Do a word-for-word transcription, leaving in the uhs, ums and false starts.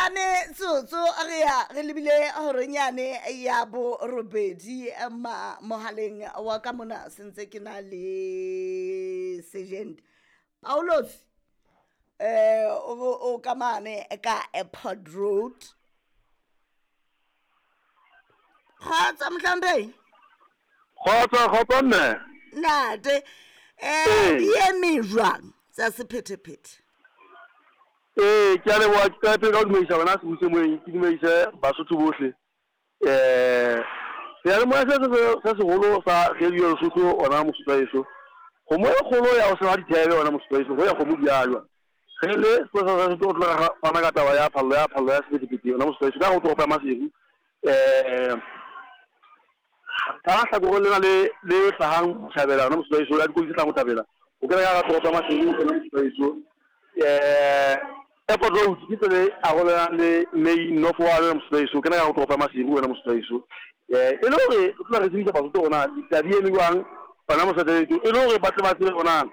Metsotso re ya re lebile horonyane ya borobedi ma mohaleng wa ka mona sentse ke na le sergeant Paulos eh o o ka mane ka Airport Road. Kgotsa mohlomphehi. Kgotsa, kgotsa mme. Ntate eh di eme jwang tsa sephethephethe? Ee, ke a leboha. Ke qala pele ka ho dumedisa wena sebuse moyeng, ke dumedise Basotho bohle. um Seyalemoya se se seholo sa Radio Lesotho ona Mosotho wa heso. Kgomo e kgolo ya ho seba dithebe ona Mosotho wa heso, ho ya kgomo di a jwa. Re le sepolesa sa Lesotho, o tlo re fana ka taba ya phallo ya phallo ya sephethephethe ona Mosotho wa heso ka ho toropo ya Maseru. um Ka hlakoreng lena le le hlahang botjhabela ona Mosotho wa heso, la dikoloi tse hlahang botjhabela o kena ka hara toropo ya Maseru ona Mosotho wa heso. um Airport Road ke tsela e arolelang le main north one Mosotho wa heso, o kena ka hara toropo ya Maseru wena Mosotho wa heso. um E le hore re tlola re tsebisa Basotho hore na ditaba di eme jwang hona Mosotho wa heso, e le hore ba tle ba tsebe hore na